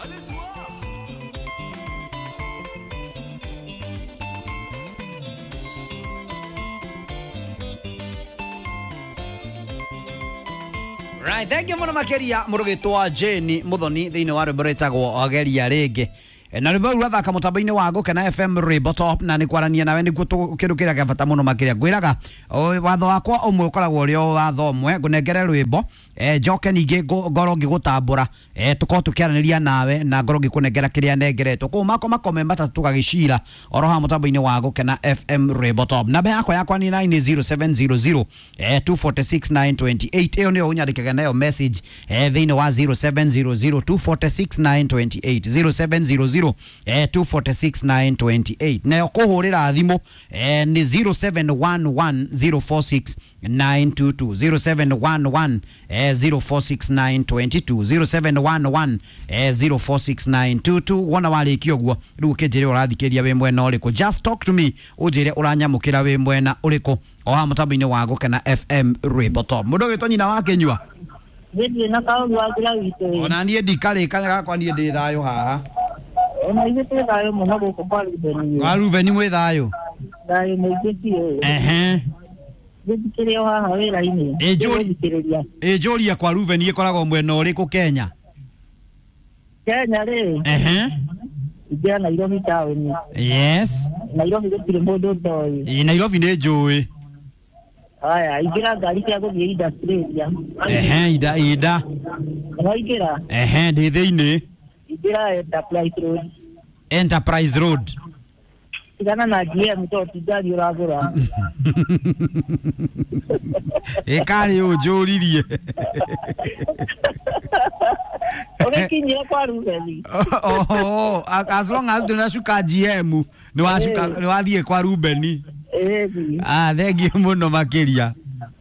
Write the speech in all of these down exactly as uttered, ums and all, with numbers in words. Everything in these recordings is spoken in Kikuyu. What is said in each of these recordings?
Right, thank you muno makeria murugitwa Jane Muthoni thiini wa rwimbo rwitagwo Geria ringi. Na rwimbo rũu rathaka mũtambo-inĩ wa Gũkena F M Rwimbo Top, na nĩ kwarania nawe nĩguo kĩndũ kĩrĩa kĩa bata mũno makĩria. Ngwĩraga watho wakwa ũmwe ũkoragwo ũrĩ o watho ũmwe, ngũnengere rwĩmbo njoke ningĩ ngorwo ngĩgũtambũra, tũkorwo tũkĩaranĩria nawe na ngorwo ngĩkũnengera kĩrĩa nengeretwo. Koguo makwa makome matatũ tũgagĩcira oro haha mũtambo-inĩ wa Gũkena F M Rwimbo Top. Namba yakwa yakwa nĩ nine zero seven zero zero two four six nine two eight. Ĩyo nĩyo ũnyandĩkage nayo message thĩinĩ wa zero seven zero zero two four six nine two eight, zero seven zero zero two four six nine two eight. Nayo kũhũrĩra thimũ nĩ zero seven one one zero four six nine two two, zero seven one one zero four six nine two two, zero seven one one zero four six nine two two. Wona warĩkia ũguo rĩu ũkĩnjĩre ũrathikĩria wĩ mwena ũrĩkũ. Just talk to me, ũnjĩre ũranyamũkĩra wĩ mwena ũrĩkũ o haha mũtambo-inĩ wa Gũkena F M Rwimbo Top. Mũndũ ũgĩtwo nyina wa Kĩnyua. Niĩ na kaũru wa njĩra witũ. Ona niĩ ndikarĩka gakwa, niĩ ndĩ thayũ haha. Ona ithuĩ twĩ thayũ mũno gũkũ kwa Rubeni. Kwa Rubeni mwĩ thayũ? Thayũ mũingĩ biũ. Ehe. Gĩthikĩrĩrio haha wĩra-inĩ. Ĩ njũria kwa Rubeni ĩkoragwo mwena ũrĩkũ Kenya? Kenya rĩ. Ehe. Ingĩra Nairobi taũni. Yes. Nairobi gũtirĩ mũndũ ũtoĩ. Ĩ Nairobi nĩ njũĩ. Haya, ingĩra ngari cia gũthiĩ Industrial. Ehe, ida ida. Waingĩra? Ehe, ndĩ thĩinĩ. Ingĩra Enterprise Road. Enterprise Road. Tigana na G M tondũ ti ngari ũragũra. Ĩ karĩ ũnjũririe. Ũgĩkinyire kwa Rubeni. Oh, as long as ndũnacuka G M nĩ wacuka, nĩ wathiĩ kwa Rubeni. Ĩĩ. Ah, thengiũ mũno makĩria.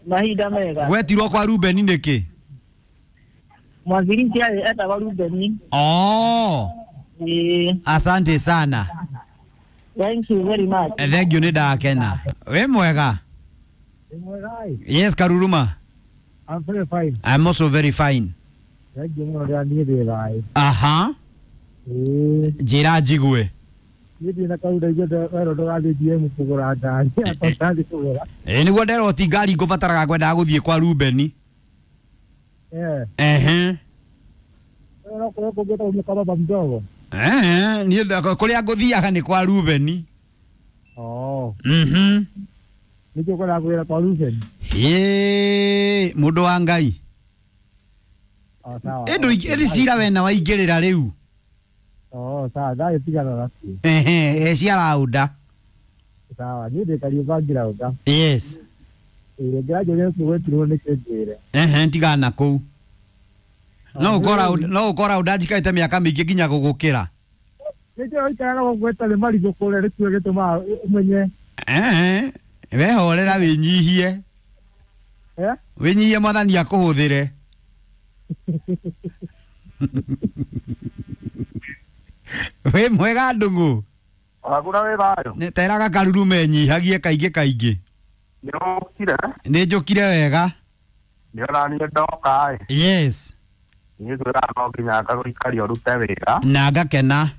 Mahinda mega. Wetirwo kwa Rubeni nĩkĩ? Mwanzilishi etagwo Rubeni. Oh. Ĩĩ. Asante sana. Thank you very much. Thank you, nĩ ndakena. Wĩ mwega? Yes, Karuruma. I'm very fine. I'm also very fine. Thank you mũno rĩrĩa niĩ ndĩ thayũ. Aha. Ĩĩ. Njĩra njigue. Niĩ ndĩ na kaũndũ ndaiguĩte werwo ndũgathiĩ G M kũgũra ngari, akwa ndathiĩ kũgũra. Ĩĩ nĩguo nderwo ti ngari ngũbataraga ngwendaga gũthiĩ kwa Rubeni. Eh. Ehe. No kũrĩa kũngĩ kwa baba mdogo. Eh, niĩ kũrĩa ngũthiaga nĩ kwa Rubeni. Oh. Mhm. Nĩkĩo ũkwendaga kũgĩra kwa Rubeni? Ĩĩ, mũndũ wa Ngai. Oh, sawa. Ĩndũ ĩndĩ cira wena waingĩrĩra rĩu. Oh, sawa, thayũ tigana nacio. Ehe, cia raunda. Sawa, niĩ ndĩ Kariũmba ngiraunda. Yes. Ĩĩ, ngĩranjũria gwĩtirwo nĩkĩ njĩre. Ehe, tigana kũu. No ũkora no ũkora ũnda njikarĩte mĩaka mĩingĩ nginya gũgũkĩra. Nĩkĩo ũikaraga gũkũ ĩtarĩ marigũ kũrĩa nĩkĩo gĩtũmaga ũmenye. Ehe, wehorera wĩnyihie. Eh? Wĩnyihie mwathani akũhũthĩre. Wĩ mwega ndũng'ũ? Wagura wĩ thayũ? Teraga Karuru menyihagie kaingĩ kaingĩ. Nĩ ũkire? Nĩ njũkire wega. Nĩ ona niĩ ndoka ĩ. Yes. Niĩ ngwĩraga no nginya ngagũikaria ũrute wĩra. Na ngakena.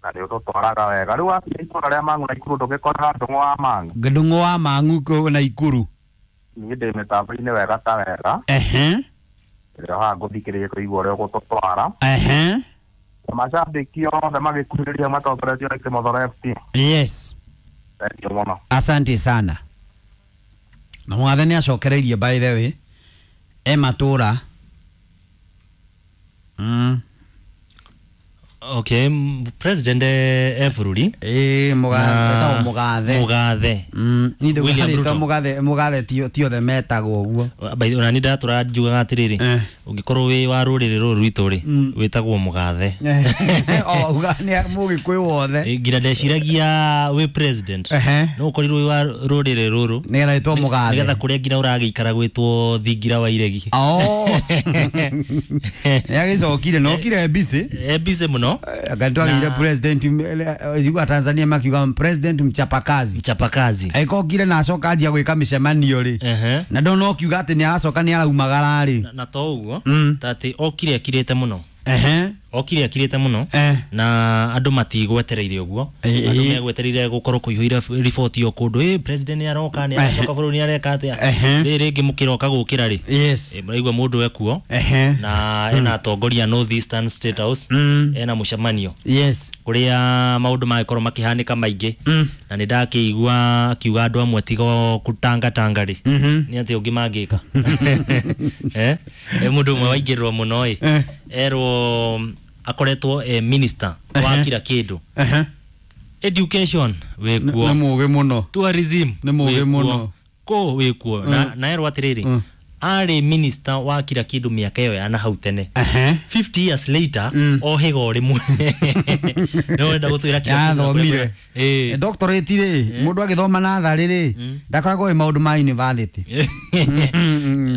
Na nĩ ũtũtwaraga wega. Rĩu wakinya itũũra rĩa Mang'u na Ikuru ndũgĩkoraga Ndũng'ũ wa Mang'u? Ndũng'ũ wa Mang'u kũu na Ikuru. Niĩ ndĩ mĩtambo-inĩ wega ta wega. Ehe. Rĩrĩa haha ngũthikĩrĩria kũigua ũrĩa ũgũtũtwara. Ehe. Mashabiki othe magĩkuhĩrĩria matongoretio nĩ Kĩmothoro F C. Yes. Thank you mũno. Asante sana. Na mwathe nĩ acokereirie by the way. E matũra. Mm. Okay, president e bũrũri. Ĩĩ, mũgathe, etagwo mũgathe. Mũgathe. Mm, niĩ William ndauga Ruto. mũgathe, mũgathe ti ti othe metagwo ũguo. By the way, ona niĩ ndatũra njugaga atĩrĩrĩ, ũngĩkorwo wĩ wa rũrĩrĩ rũrũ rwitũ rĩ, wĩtagwo mũgathe. Oh, uga nĩ mũgĩkũyũ wothe. Nginya ndeciragia wĩ president. No ũkorirwo wĩ wa rũrĩrĩ rũrũ. Nĩgetha wĩtwo mũgathe. Nĩgetha kũrĩa nginya ũragĩikara gwĩtwo thingira wa iregi. Oh. Nĩagĩcokire, na okire busy. E busy mũno. Anga twagĩire president wa Tanzania makiuga president mchapakazi. Mchapakazi. Aikokire na acoka anjia gwĩka mĩcemanio rĩ. Na ndona okiuga atĩ nĩ aracoka nĩ araumagara rĩ. Na to ũguo, ta atĩ okire akirĩte mũno. Ehe. Okire akirite muno Eh. na andu matigwetereire uguo. Eh, Andu eh. megwetereire gukorwo kuihũire riboti o kundu, eh president ni aroka, ni aracoka bũrũri, ni areka atia. Ehe. Rĩrĩ rĩngĩ mũkĩroka gũkĩra rĩ, Yes. eh, mũraigua mũndũ ekuo Ehe. na ena atongoria North Eastern State House, Mm. ena mũcemanio Yes. kuria maundu magĩkorwo makĩhanĩka maingĩ. Mm. Na nĩ ndakĩigua akiuga andũ amwe tigo kũtangatanga rĩ, Mhm. nĩ atĩ ũngĩ mangĩka. Eh eh, mũndũ ũmwe waingĩrĩrwo mũno ĩ, Eh. erwo akoretwo eh, minister wa Ehe. kila kĩndũ. Ehe. Education wĩkuo, Nĩ mũgĩ mũno. tourism Nĩ mũgĩ wĩkuo, mũno. kũ wĩkuo, na na erwo atĩrĩrĩ, Mm. arĩ minister wa kila kĩndũ mĩaka ĩyo ya na hau tene, Ehe. fifty years later, Mm. ohĩga o rĩmwe nĩ ũrenda gũtwĩra kila kĩndũ na Yathomire. kũrĩa- Ĩ. Doctorate rĩ, mũndũ agĩthoma natharĩ rĩ, ndakoragwo ĩ maũndũ ma university.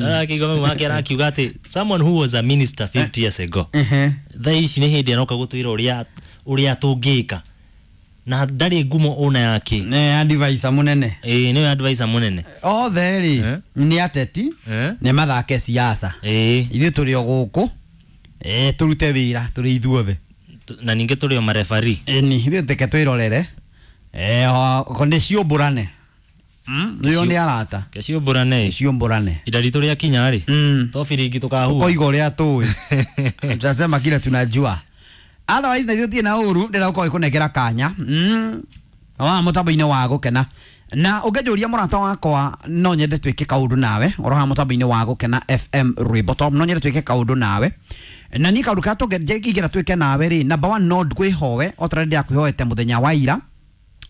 Arakĩigua mau make arakiuga atĩ someone who was a minister fifty years ago, Ehe. thaa ici nĩ hĩndĩ aroka gũtwĩra ũrĩa ũrĩa tũngĩka, na ndarĩ ngumo ona yake. Nĩ advisor mũnene. Ĩĩ, nĩwe advisor mũnene. Othe rĩ Eh. nĩ ateti, Eh? nĩ mathake siasa. Ĩĩ. Ithuĩ tũrĩ o gũkũ, eh, tũrute wĩra tũrĩ ithuothe. Tu- na ningĩ tũrĩ o marefari. Ĩni ithuĩ teke twĩrorere. Eh, o- nĩ ciũmbũrane. Nĩo nĩ arata. Keciũmbũrane. Ciũmbũrane. Ida ritũ rĩa kinya rĩ, Mm. to biringi tũkahua. Koiga ũrĩa tũĩ, tutasema kile tunajua, otherwise na ithuĩ tirĩ na ũru. Ndĩrenda gũkorwo ĩkũnengera kanya mm. wa mũtambo-inĩ wa gũkena, na ũngĩnjũria mũrata wakwa, no nyende twĩke kaũndũ nawe oro haha mũtambo-inĩ wa Gũkena F M Rwĩmbo Top. No nyende twĩke kaũndũ nawe, na niĩ kaũndũ karĩa tũngĩingĩra twĩke nawe rĩ, number one, no ngwĩhoe o ta ũrĩa ndĩrakwĩhoete mũthenya wa ira.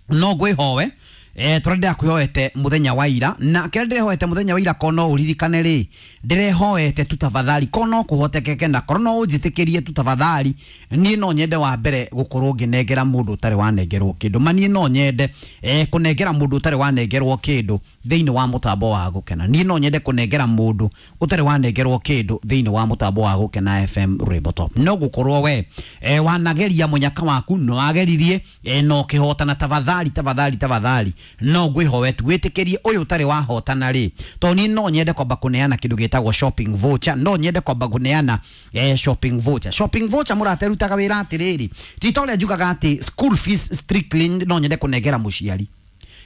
No ngwĩhoe eh tũrĩa ndĩrakwĩhoete mũthenya wa ira, na kĩrĩa ndĩrehoete mũthenya wa ira, ko no ũririkane rĩ, ndĩrehoete tu tafadhali, ko no kũhotekeke na korwo no ũnjĩtĩkĩrie tu tafadhali, niĩ no nyende wa mbere gũkorwo ngĩnengera mũndũ ũtarĩ wanengerwo kĩndũ. Ma niĩ no nyende eh, kũnengera mũndũ ũtarĩ wanengerwo kĩndũ thĩinĩ wa mũtambo wa Gũkena. Niĩ no nyende kũnengera mũndũ ũtarĩ wanengerwo kĩndũ thĩinĩ wa mũtambo wa Gũkena F M Rwĩmbo Top. No gũkorwo we eh, wanageria mũnyaka waku, no wageririe eh, no ũkĩhotana, tafadhali, tafadhali, tafadhali, no ngwĩhoe tu wĩtĩkĩrie ũyũ ũtarĩ wahotana rĩ, tondũ niĩ no nyende kwamba kũneana kĩndũ gĩtagwo shopping voucher. No nyende kwamba kũneana eh, shopping voucher. Shopping voucher, mũrata, ĩrutaga wĩra atĩrĩrĩ, ti ta ũrĩa njugaga atĩ school fees strictly no nyende kũnengera mũciari.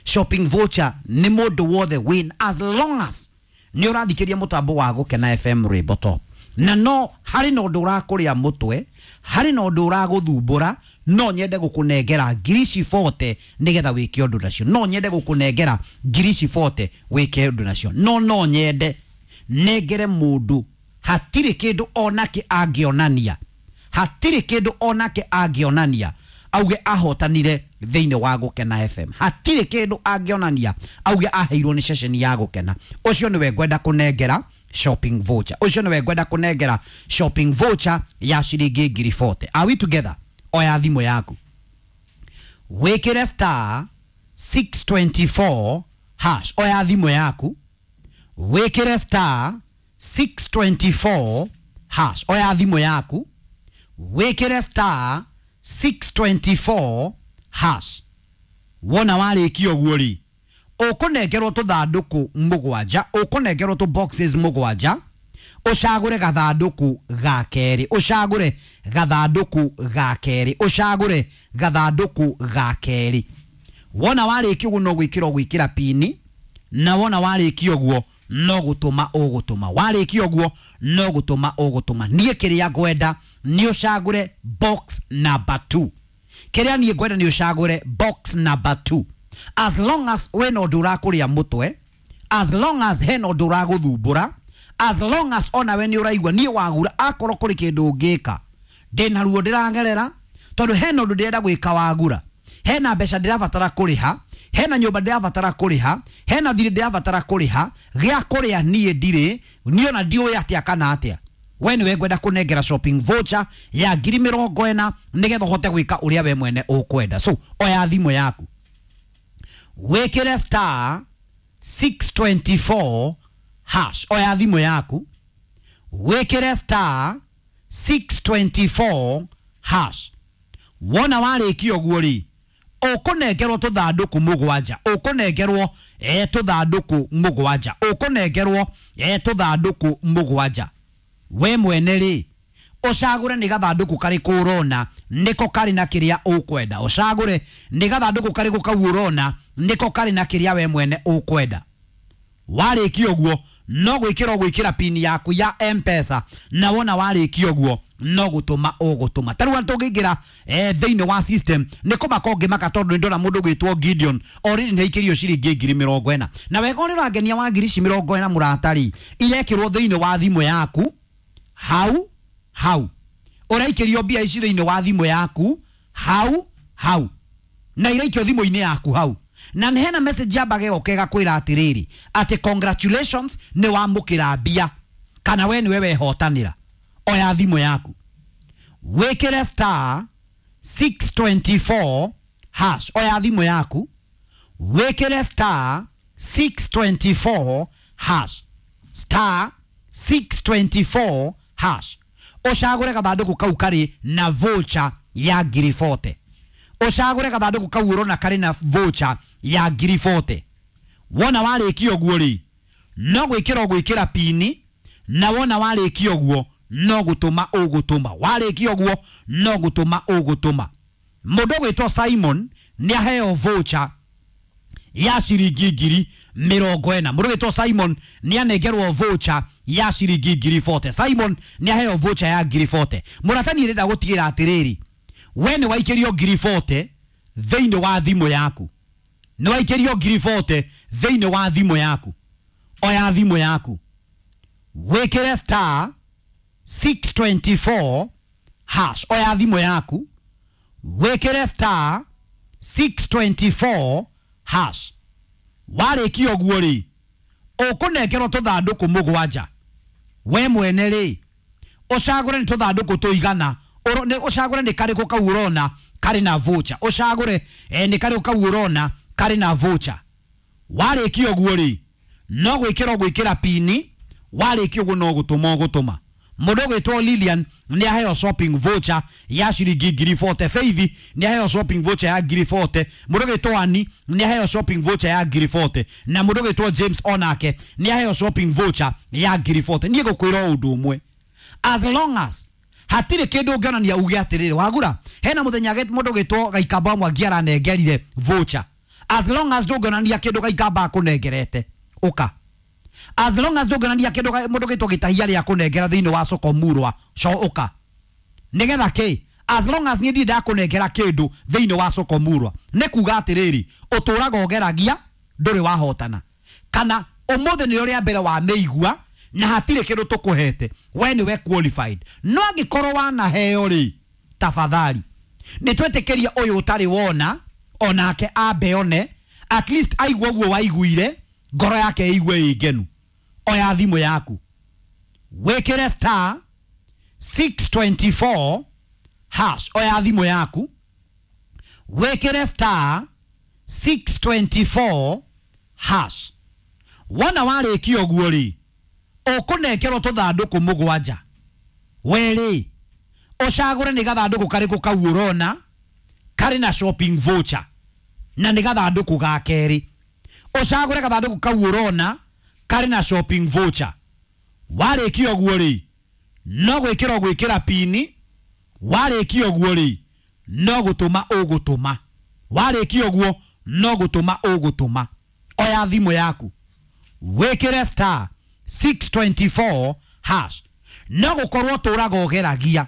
Shopping voucher nĩ mũndũ wothe win, as long as nĩ ũrathikĩria mũtambo wa Gũkena F M Rwĩmbo Top, na no harĩ na ũndũ ũrakũrĩa mũtwe, harĩ na ũndũ ũragũthumbũra, no nyende gũkũnengera ngiri ici bote nĩgetha wĩke ũndũ nacio. No nyende gũkũnengera ngiri ici bote wĩke ũndũ nacio. No no nyende nengere mũndũ hatirĩ kĩndũ onake angĩonania, hatirĩ kĩndũ onake angĩonania auge ahotanire thĩinĩ wa Gũkena F M, hatirĩ kĩndũ angĩonania auge aheirwo nĩ ceceni ya Gũkena. Ũcio nĩwe ngwenda kũnengera shopping voucher. Ũcio nĩwe ngwenda kũnengera shopping voucher ya ciringi ngiri mĩrongo ĩna. Are we together? Oya thimũ yaku, wĩkĩre star six two four hash. Oya thimũ yaku, wĩkĩre star six two four hash. Oya thimũ yaku, wĩkĩre star six two four hash. Wona warĩkia ũguo rĩ, ũkũnengerwo tũthandũkũ mũgwanja, ũkũnengerwo tũ boxes mũgwanja. Ũcagũre gathandũkũ ga kerĩ, ũcagũre gathandũkũ ga kerĩ, ũcagũre gathandũkũ ga kerĩ. Wona warĩkia ũguo, no gwĩkĩra ũgwĩkĩra pini, na wona warĩkia ũguo, no gũtũma ũgũtũma. Warĩkia ũguo, no gũtũma ũgũtũma. Niĩ kĩrĩa ngwenda nĩ ũcagũre box number two. Kĩrĩa niĩ ngwenda nĩ ũcagũre box number two, as long as wĩna ũndũ ũrakũrĩa mũtwe, as long as hena ũndũ ũragũthumbũra, as long as onawe nĩ ũraigua niĩ wagura akorwo kũrĩ kĩndũ ũngĩka, ndĩna ruo ndĩragerera, tondũ hena ũndũ ndĩrenda gwĩka wagura, hena mbeca ndĩrabatara kũrĩha, hena nyũmba ndĩrabatara kũrĩha, hena thirĩ ndĩrabatara kũrĩha, gĩa kũrĩa niĩ ndirĩ, niĩ ona ndiũĩ atĩa kana atĩa. We nĩwe ngwenda kũnengera shopping voucher ya ngiri mĩrongo ĩna nĩgetha ũhote gwĩka ũrĩa we mwene ũkwenda. So oya thimũ yaku, wĩkĩre star six two four hash. Oya thimũ yaku, wĩkĩre star six two four hash. Wona warĩkia ũguo rĩ, ũkũnengerwo tũthandũkũ mũgwanja, ũkũnengerwo eh, tũthandũkũ mũgwanja, ũkũnengerwo eh, tũthandũkũ mũgwanja. We mwene rĩ, Ũcagũre nĩ gathandũkũ karĩkũ ũrona nĩko karĩ na kĩrĩa ũkwenda. Ũcagũre nĩ gathandũkũ karĩkũ kau ũrona nĩko karĩ na kĩrĩa we mwene ũkwenda. Warĩkia ũguo no gwĩkĩra ũgwĩkĩra pini yaku ya M-Pesa, na wona warĩkia ũguo no gũtũma ũgũtũma. Ta rĩu tũngĩingĩra eh, thĩinĩ wa system nĩ kũmaka ũngĩmaka, tondũ nĩ ndona mũndũ ũgwĩtwo Gideon already nĩ aikĩrio ciringi ngiri mĩrongo ĩna. Na wega ũrĩa ũrangenia wa ngiri ici mĩrongo ĩna mũratari, irekĩrwo thĩinĩ wa thimũ yaku hau hau. Ũraikĩrio mbia ici thĩinĩ wa thimũ yaku hau hau, na iraikio thimũ-inĩ yaku hau. Na nĩ hena message yambaga ĩgoka ĩgakwĩra atĩrĩrĩ, atĩ congratulations nĩ wamũkĩra mbia, kana we nĩwe wehotanĩra. Oya thimũ yaku wĩkĩre star six twenty four hash. Oya thimũ yaku wĩkĩre star six twenty four hash, star six twenty four hash. Ũcagũre gathandũkũ kau karĩ na voucher ya ngiri forty. Ũcagũre gathandũkũ kau ũrona karĩ na voucher ya ngiri forty. Wona warĩkia ũguo rĩ, no gwĩkĩra ũgwĩkĩra pini, na wona warĩkia ũguo no gũtũma ũgũtũma. Warĩkia ũguo no gũtũma ũgũtũma. Mũndũ ũgwĩtwo Simon nĩ aheo voucher ya ciringi ngiri mĩrongo ĩna. Mũndũ ũgwĩtwo Simon nĩ anengerwo voucher ya ciringi ngiri forty. Simon nĩ aheo voucher ya ngiri forty. Mũratani ndĩrenda gũtigĩra atĩrĩrĩ, we nĩ waikĩrio ngiri forty thĩinĩ wa thimũ yaku. Nĩ waikĩrio ngiri forty thĩinĩ wa thimũ yaku. Oya thimũ yaku wĩkĩre star six twenty four hash. Oya thimũ yaku wĩkĩre star six twenty four hash. Warĩkia ũguo rĩ, ũkũnengerwo tũthandũkũ mũgwanja. We mwene rĩ, ũcagũre nĩ tũthandũkũ tũigana, ũcagũre nĩ karĩkũ kau ũrona karĩ na voucher. Ũcagũre eh, nĩ karĩkũ kau ũrona karĩ na voucher. Warĩkia ũguo rĩ, no gwĩkĩra ũgwĩkĩra pini. Warĩkia ũguo no gũtũma ũgũtũma. Mũndũ ũgwĩtwo Lilian nĩ aheo shopping voucher ya ciringi ngiri forty. Faith nĩ aheo shopping voucher ya ngiri forty. Mũndũ ũgwĩtwo Annie nĩ aheo shopping voucher ya ngiri forty. Na mũndũ ũgwĩtwo James onake nĩ aheo shopping voucher ya ngiri forty. Niĩ ngũkwĩra ũndũ ũmwe, as long as hatirĩ kĩndũ ũngĩonania uge atĩrĩrĩ wagura, hena mũthenya mũndũ ũgwĩtwo Gaikamba Mwangi aranengerire voucher. As long as ndũngĩonania kĩndũ Gaikamba akũnengerete, ũka. As long as ndũngĩonania kĩndũ mũndũ ũgwĩtwo Gĩtahia rĩa kũnengera thĩinĩ wa soko murwa, co ũka. Nĩgetha kĩ? As long as niĩ ndirĩ ndakũnengera kĩndũ thĩinĩ wa soko murwa, nĩ kuga atĩrĩrĩ, ũtũraga ũgeragia ndũrĩ wahotana, kana ũmũthĩ nĩrĩo rĩa mbere wamĩigua na hatirĩ kĩndũ tũkũhete, we nĩwe qualified. No angĩkorwo wanaheo rĩ, tafadhali nĩ twĩtĩkĩrie ũyũ ũtarĩ wona onake ambe one, at least aigua ũguo waiguire, ngoro yake ĩigue ĩ ngenu. Oya thimũ yaku wĩkĩre star six twenty four hash. Oya thimũ yaku wĩkĩre star six twenty four hash. Wona warĩkia ũguo rĩ, ũkũnengerwo tũthandũkũ mũgwanja. We rĩ, ũcagũre nĩ gathandũkũ karĩkũ kau ũrona karĩ na shopping voucher, na nĩ gathandũkũ ga kerĩ. Ũcagũre gathandũkũ kau ũrona karĩ na shopping voucher. Warĩkia ũguo rĩ, no gwĩkĩra ũgwĩkĩra pini. Warĩkia ũguo rĩ, no gũtũma ũgũtũma. Warĩkia ũguo no gũtũma ũgũtũma. Oya thimũ yaku wĩkĩre star six twenty four hash. No gũkorwo ũtũraga ũgeragia,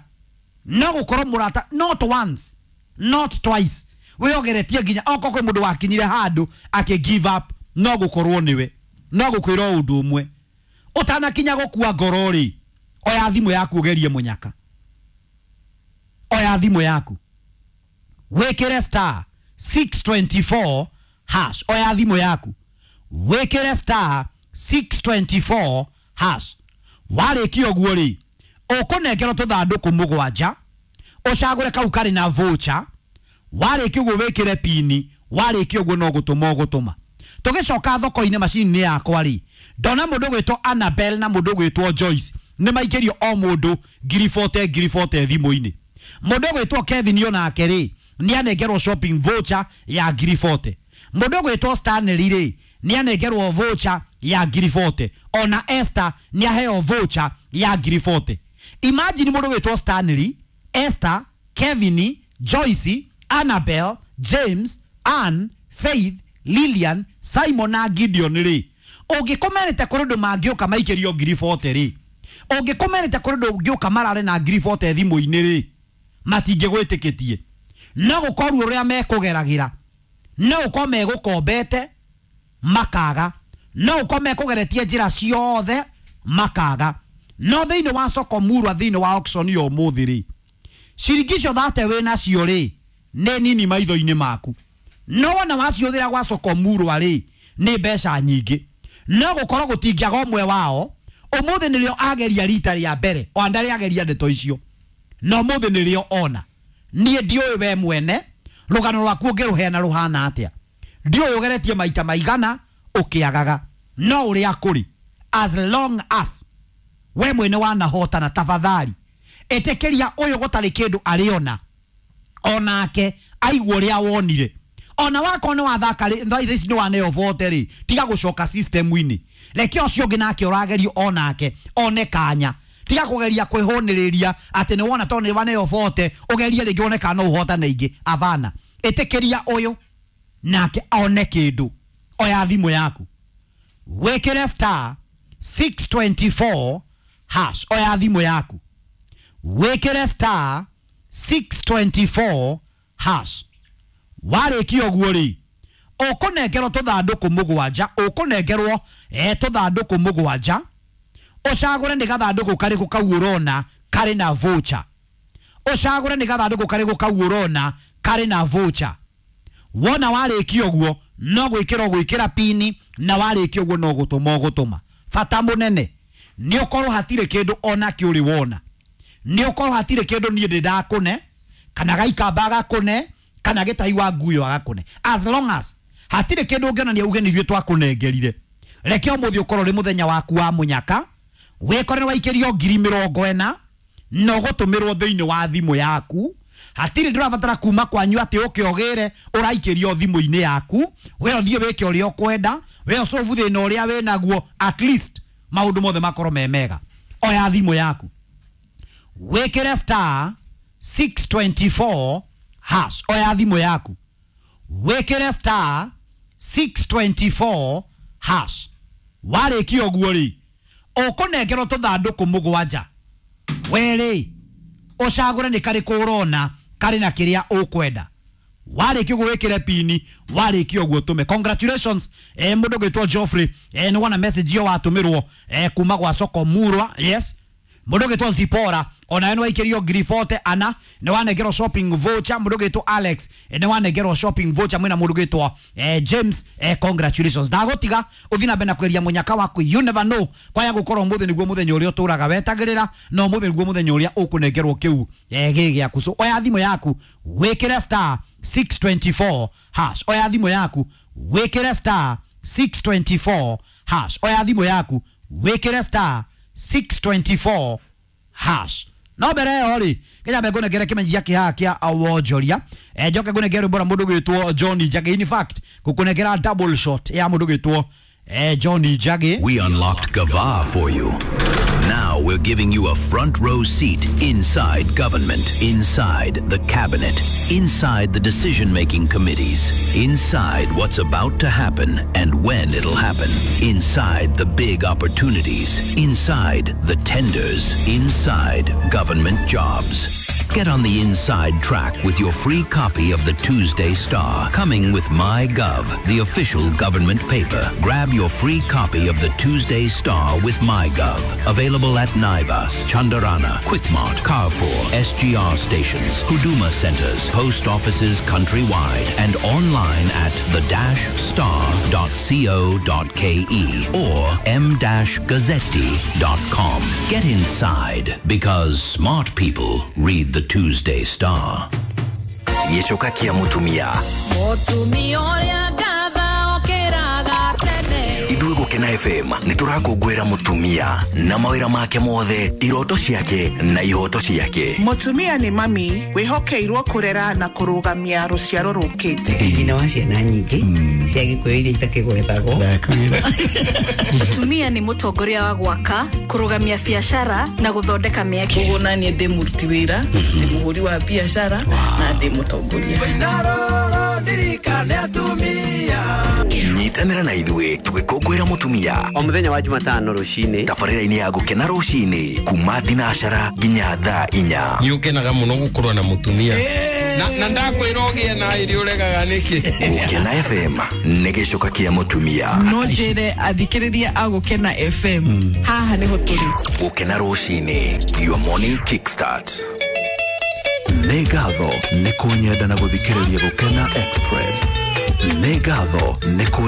no gũkorwo mũrata, not once not twice, wĩogeretie nginya okorwo kwĩ mũndũ wakinyire handũ akĩ give up, no gũkorwo nĩwe. No gũkwĩra ũndũ ũmwe, ũtanakinya gũkua ngoro rĩ, oya thimũ yaku ũgerie mũnyaka. Oya thimũ yaku wĩkĩre star six twenty four hash. Oya thimũ yaku wĩkĩre star six twenty four hash. Warĩkia ũguo rĩ, ũkũnengerwo tũthandũkũ mũgwanja, ũcagũre kau karĩ na voucher. Warĩkia ũguo wĩkĩre pini. Warĩkia ũguo no gũtũma ũgũtũma. Tũgĩcoka thoko-inĩ macini-inĩ yakwa rĩ, ndona mũndũ ũgwĩtwo Annabel na mũndũ ũgwĩtwo Joyce nĩ maikĩrio o mũndũ ngiri forty ngiri forty thimũ-inĩ. Mũndũ ũgwĩtwo Kevin onake rĩ, nĩ anengerwo shopping voucher ya ngiri forty. Mũndũ ũgwĩtwo Stanley rĩ, nĩ anengerwo voucher ya ngiri forty. Ona Esther nĩ aheo voucher ya ngiri forty. Imagine mũndũ wĩtwo Stanley, Esther, Kevin, Joyce, Annabel, James, Ann, Faith, Lilian, Simon na Gideon rĩ, ũngĩkomerete kũrĩ ũndũ mangĩũka maikĩrio ngiri forty rĩ, ũngĩkomerete kũrĩ ũndũ ũngĩũka marare na ngiri forty thimũ-inĩ rĩ, matingĩgwĩtĩkĩtie. No gũkorwo ũrĩa mekũgeragĩra, no gũkorwo megũkombete makaga, no gũkorwo mekũgeretie njĩra ciothe makaga. No thĩinĩ wa soko murwa, thĩinĩ wa auction ya ũmũthĩ rĩ, ciringi icio thate wĩ nacio rĩ, nĩ nini maitho-inĩ maku. No wona waciũthĩra gwa soko murwa rĩ, nĩ mbeca nyingĩ. No gũkorwo gũtingĩaga ũmwe wao ũmũthĩ nĩrĩo ageria rita rĩa mbere, o ndarĩ ageria ndeto icio, no ũmũthĩ nĩrĩo ona. Niĩ ndiũĩ we mwene rũgano rwaku ũngĩrũheana rũhana atĩa, ndiũĩ ũgeretie maita maigana ũkĩagaga, no ũrĩa kũrĩ, as long as we mwene wanahotana, tafadhali ĩtĩkĩria ũyũ gũtarĩ kĩndũ arĩona onake aigua ũrĩa wonire. Ona wakorwo nĩ wathaka rĩ, thaa ici nĩ waneo vote rĩ, tiga gũcoka system-inĩ, reke ũcio ũngĩ nake ũragerio onake one kanya. Tiga kũgeria kwĩhũnĩrĩria atĩ nĩ wona tondũ nĩ waneo vote ũgerie rĩngĩ wone kana no ũhotane ingĩ. Avana, ĩtĩkĩria ũyũ nake one kĩndũ. Oya thimũ yaku wĩkĩre star six twenty-four hash. Oya thimũ yaku wĩkĩre star six twenty-four hash. Warĩkia ũguo rĩ, ũkũnengerwo tũthandũkũ mũgwanja, ũkũnengerwo eh tũthandũkũ mũgwanja, ũcagũre nĩ gathandũkũ karĩkũ kau ũrona karĩ na voucher. Ũcagũre nĩ gathandũkũ karĩkũ kau ũrona karĩ na voucher. Wona warĩkia ũguo no gwĩkĩra ũgwĩkĩra pini, na warĩkia ũguo no gũtũma ũgũtũma. Bata mũnene nĩ ũkorwo hatirĩ kĩndũ ona kĩ ũrĩ wona, nĩ ũkorwo hatirĩ kĩndũ niĩ ndĩ ndakũne, kana gaikamba gakũne, kana gĩtahi wa nguyo agakũne. As long as hatirĩ kĩndũ ũngĩonania uge nĩ ithuĩ twakũnengerire, reke ũmũthĩ ũkorwo ũrĩ mũthenya waku wa mũnyaka, wĩkore nĩ waikĩrio ngiri mĩrongo ĩna na ũgũtũmĩrwo thĩinĩ wa thimũ yaku. Hatirĩ ndũrabatara kuma kwanyu atĩ ũke ũgĩre, ũraikĩrio thimũ-inĩ yaku, we ũthiĩ wĩke ũrĩa ũkwenda, we ũcobu thĩna ũrĩa wĩnaguo, at least maũndũ mothe makorwo me mega. Oya thimũ yaku wĩkĩre star six twenty-four hash. Oya thimũ yaku wĩkĩre star six twenty-four hash. Warĩkia ũguo rĩ, ũkũnengerwo tũthandũkũ mũgwanja, we rĩ ũcagũre nĩ karĩkũ ũrona karĩ na kĩrĩa ũkwenda. Warĩkia ũguo wĩkĩre pini, warĩkia ũguo tũme. Congratulations eh, mũndũ ũgwĩtwo Geoffrey, eh, nĩ wona message ĩyo watũmĩrwo eh, kuma gwa soko murwa. Yes, mũndũ ũgwĩtwo Zipora onawe nĩ waikĩrio ngiri forty ana, nĩ wanengerwo shopping voucher. Mũndũ ũgwĩtwo Alex eh, nĩ wanengerwo shopping voucher. Mwĩna mũndũ ũgwĩtwo eh, James, eh, congratulations. Ndagũtiga ũthiĩ na mbere na kweria mũnyaka waku, you never know, kwaya gũkorwo ũmũthĩ nĩguo mũthenya ũrĩa ũtũraga wetagĩrĩra, na ũmũthĩ nĩguo mũthenya ũrĩa ũkũnengerwo kĩu eh, gĩ gĩaku. So oya thimũ yaku wĩkĩre star six twenty-four hash. Oya thimũ yaku wĩkĩre star six twenty-four hash. Oya thimũ yaku wĩkĩre star six twenty-four hash. No mbere ĩyo rĩ, kenya mbe ngũnengere kĩmenyithia kĩhaha kĩa wonjoria, eh, njoke ngũnengere rwĩmbo rwa mũndũ ũgwĩtwo John Njagi. In fact ngũkũnengera double shot ya mũndũ ũgwĩtwo eh, John Njagi. We unlocked Gava for you. Now we're giving you a front row seat inside government, inside the cabinet, inside the decision-making committees, inside what's about to happen and when it'll happen, inside the big opportunities, inside the tenders, inside government jobs. Get on the inside track with your free copy of the Tuesday Star, coming with MyGov, the official government paper. Grab your free copy of the Tuesday Star with MyGov. Available at Naivas, Chandarana, Quickmart, Carrefour, S G R stations, Huduma centers, post offices countrywide, and online at the dash star dot co dot ke or m dash gazzetti dot com. Get inside, because smart people read the Tuesday Star. Gĩcoka kĩa mũtumia. Mũtumia ũrĩa ngatha okĩraga tene. Ithuĩ Gũkena F M nĩ tũrakũngũĩra mũtumia na mawĩra make mothe, iroto ciake na ihoto ciake. Mũtumia nĩ mami wĩhokeirwo kũrera na kũrũgamia rũciaro rũkĩte. Nyina wa ciana nyingĩ cia Gĩkũyũ iria itakĩgwetagwo. Mũtumia nĩ mũtongoria wa gwaka, kũrũgamia biacara na gũthondeka mĩeke. Koguo naniĩ ndĩ mũruti wĩra, ndĩ mũhũri wa biacara na ndĩ mũtongoria. Nyitanĩra na ithuĩ tũgĩkũngũĩra mũtumia o mũthenya wa Jumatano rũcinĩ tabarĩra-inĩ ya Gũkena rũcinĩ kuma thinacara nginya thaa inya. Nĩ ũkenaga mũno gũkorwo na mũtumia na, na ndakwĩra ũgĩe na ĩrĩ ũregaga nĩkĩ. Gũkena F M nĩ gĩcoka kĩa mũtumia. No njĩre athikĩrĩria a Gũkena F M haha nĩho tũrĩ. Gũkena rũcinĩ, your morning kickstart. Nĩ ngatho nĩ kũnyenda na gũthikĩrĩria Gũkena Express. Nĩ ngatho nĩ kũnyenda